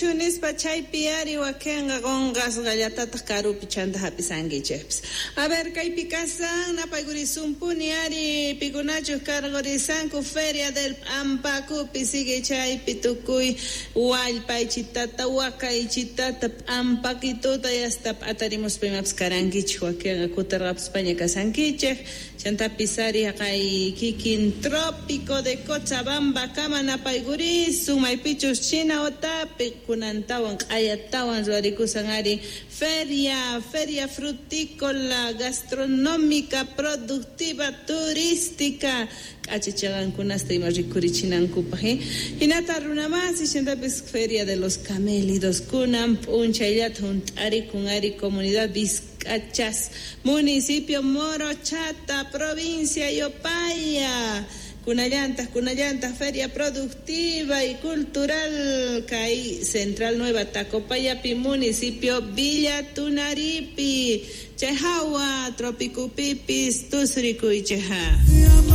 Kanchu nispa chaypi ari wakinqa qunqasqallatataq karupi chanta hap'isankichikpis. A ver, kaypi kasan napaykurisunpuni ari pikunachuq karqurisanku Feria del P'ampakupi sigue chaypi tukuy wallpaychitata wakaychitata p'ampakituta yasta p'atarimuspa imapas karankichik wakinqa kutirqapuspaña kasankichik chantapis ari haqay kikin Trópico de Cochabamba kama napaykurisun maypichus China otapi kunantawan q'ayatawan ruwarikusan ari feria frutícola gastronómica productiva turística k'achachaqankunasta ima rikurichinankupaq hinata runamasi chantapis Feria de los Camélidos kunan p'unchayllata hunt'arikun ari comunidad Vizcachas municipio Morochata provincia Yopaya kunallantaq feria productiva y cultural kay Central Nueva Tacopayapi municipio Villa Tunaripi chay hawa Tropicupipis tusrikuychikqa.